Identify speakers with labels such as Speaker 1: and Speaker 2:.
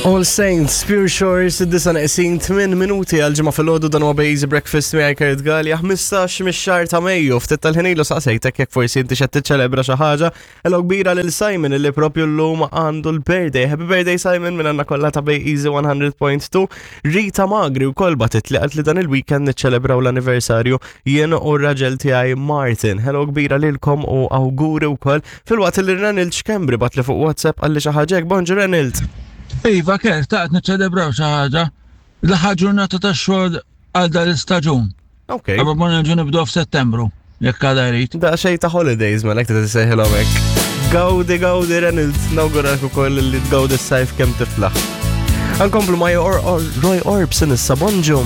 Speaker 1: All Saints, Pure Shores, id-disa neqsin 8 minuti għal ġimgħa filgħodu dan huwa Bejzi Breakfast miegħi Kurt Gallia 15 mix-xahar ta' Mejju. Ftit tal-ħin ilu saqsejtek jekk forsi inti xed tiċċelebra xi ħaġa. Hello kbira lil Simon illi propju llum għandu l-birthday. Happy birthday Simon minn għandna kollha ta' Bay Easy 100.2. Rita Magri wkoll batit li qalt li dan il-weekend niċċelebraw l-anniversarju jien u r-raġel tiegħi Martin. Hello kbira lilkom u awguri wkoll Filwaqt li Renald Schembri bagħatli fuq WhatsApp qalli xi ħaġa hekk, Bonġu Renald!
Speaker 2: Iva Kurt, ta' qed niċċelebraw xi ħaġa. L-aħħar ġurnata tax-xogħol għal dan l-istaġun.
Speaker 1: Ok.
Speaker 2: Qabel ma nerġgħu nibdew f'Settembru, jekk għadha jrid.
Speaker 1: Daqsxejn ta' holidays mela hekk tista' sejħilhom hekk. Gawdi, gawdi Renald, nawguralek ukoll li tgawdi s-sajf kemm tiflaħ. Ankomplu ma' Roy Orbison issa, bonġu.